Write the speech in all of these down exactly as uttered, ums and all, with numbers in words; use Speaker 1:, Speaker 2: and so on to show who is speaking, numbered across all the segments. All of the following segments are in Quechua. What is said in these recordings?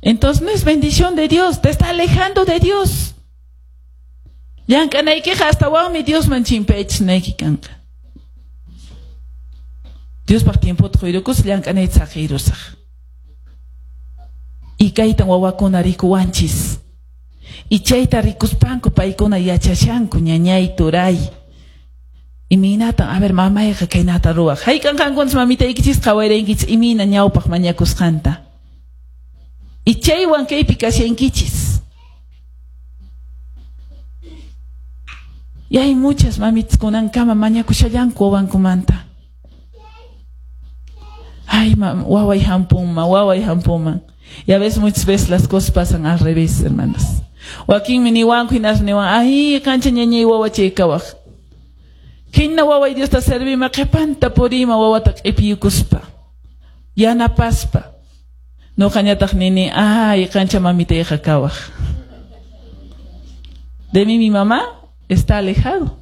Speaker 1: Entonces no es bendición de Dios, te está alejando de Dios. Llank'anaykiqa astawanmi Diosman chimpayachisnayki kanqa. Diospaq tiempota quyrukus llank'anayta saqirusaq. Y kaytan wawakuna rikuwanchis. Y chayta rikuspanku paykuna yachashanku ñañay turay. Imaynatan, a ver, mamayqa kaynata ruwaq. Hayk'an qankunas mamitaykichis qhawarinkichis imayna ñawpaq mañakusqanta. Y chaywan kaypi kashankichis. Y hay muchas mamitas kunankama mañakushallanku wawankumanta. Ay, mam, waway hampunman, waway hampunman. Y a veces, muchas veces las cosas pasan al revés, hermanas. Wakinmi niwanku hinas niwan, ay, kancha ñañay wawachay kawaq. Hina waway Diosta servima qhipanta purima wawata q'ipiyukuspa. Yanapaspa. Nuqañataq nini, ay, kancha mamitayqa kawaq. De mí mi mamá está alejado.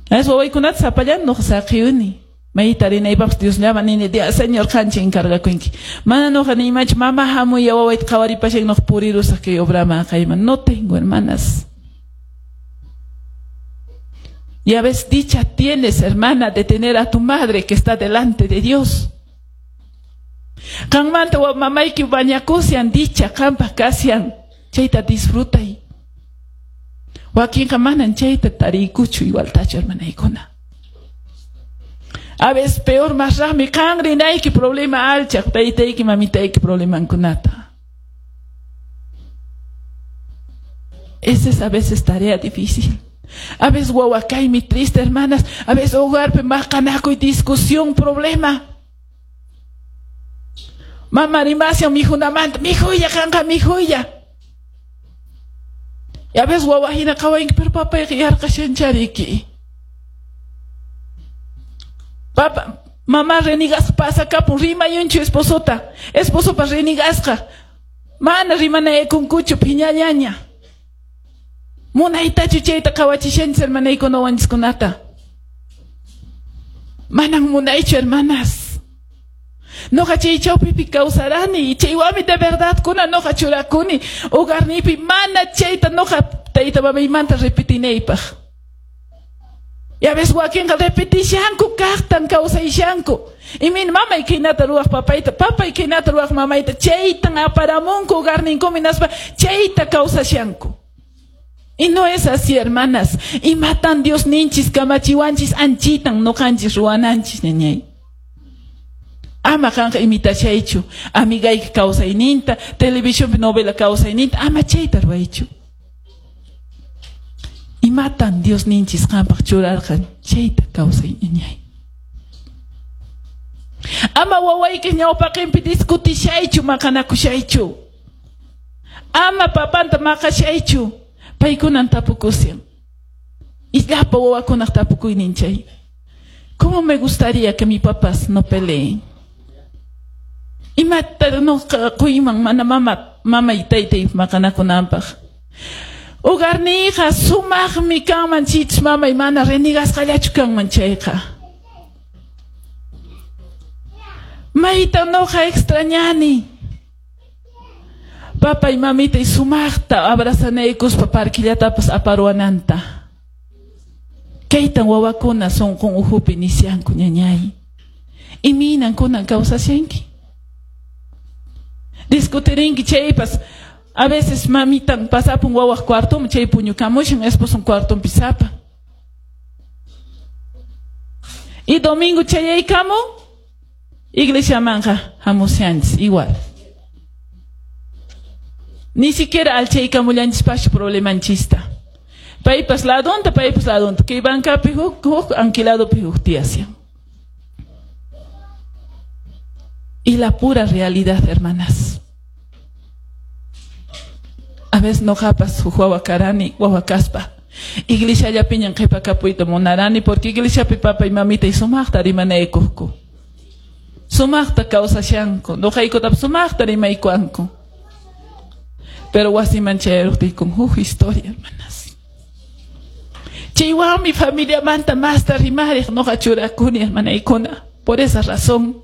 Speaker 1: Es wawaykunata sapallan nuqa saqiyuni. Mayta rinaypaqpas Dios llama nini, Dios Señor qancha encargakunki. Mana nuqa niymanchu, mama hamuy wawayta qhawaripashan nuqa purirusaq kay obrama kayman. No tengo, hermanas. Y a veces dicha tienes, hermana, de tener a tu madre que está delante de Dios. Qanmanta mamayki bañakusian dicha qanpaq kasian chayta disfrutay. Wakinqa manan chayta tariykuchu igualtachu, hermanaykuna. A veces peor más rami qan rinayki problema alchaq taytayki mamitayki problemankunata. Esa es a veces tarea difícil. A veces wawakaymi triste, hermanas. A veces hogarpi maqanakuy discusión, problema. Mama rimasian mijunamanta, mijuya qanqa mijuya. Y a veces wawa hina qhawanki, pero papayqa yarqashanchariki. Papa, mamá renigasqa pasakapun, rimayunchu esposota. Esposopas renigasqa. Mana rimanaykunkuchu phiñallaña. Munaytachu chayta qhawachishanchis hermanaykuna wawanchiskunata. Manan munaychu, hermanas. Noqa chay chawpipi kawsarani, chaywanmi de verdad kuna noqa churakuni hogarniypi mana chayta noqa tayta mamaymanta repetinaypaq. Y a veces wakinqa repetishanku kaqtan kawsayshanku. Imayna mamay khaynata ruwaq papayta, papay khaynata ruwaq mamayta, chaytan aparamunku hogarninkuman hinaspa chayta kawsashanku. Y no es así, hermanas. Imatan Dios ninchis kamachiwanchis anchitan noqanchis ruwananchis ñañay. Ama qanqa imitashaychu, amigayki kawsayninta, televisionpi novela kawsayninta, ama chayta ruwaychu. Imatan Dios ninchis qanpaq churarqan chayta kawsay ñañay. Ama wawayki ñawpaqinpi discutishaychu, maqanakushaychu. Ama papanta maqashaychu. Paykunan tapukusian. Y llapa wawakunaq tapukuynin chay. ¿Cómo me gustaría que mis papás no peleen? Imata noqa quyman mana mama mamay taytay maqanakunanpaq. Hogarniyqa sumaqmi kanman chich mamay mana renigasqallachu kanman chayqa. Mayta noqa extrañani. Papay mamitay sumaqta abrazanaykuspa parquillatapas aparuananta. Kaytan wawakuna sunqun uhupi nisyanku ñañay. Imaynan kunan kawsashanki. Discutirinki chaypas. A veces mamitan pasapun wawaq cuartoman chay puñukamushan esposon cuartonpi sapa. Y domingo chayaykamun iglesiamanqa hamushanchis igual. Ni siquiera alchaykamullanchispaschu problemanchista. Paypas ladonta, paypas ladonta. Kay bancapi huk, huk, anquiladopi huk tiyasyan. Y la pura realidad, hermanas. A veces noqapas huk wawa karani, wawa kaspa. Iglesiallapiñan qhipakapuyta munarani, porque iglesiapi papay mamitay sumaqta rimanaykuqku. Sumaqta kawsashanku, noqaykutapas sumaqta rimaykuanku. Pero wasiman chayaruqtiykun huk historia, hermanas. Chaywanmi familiamanta masta rimariq noqa churakuni, hermanaykuna. Por esa razón.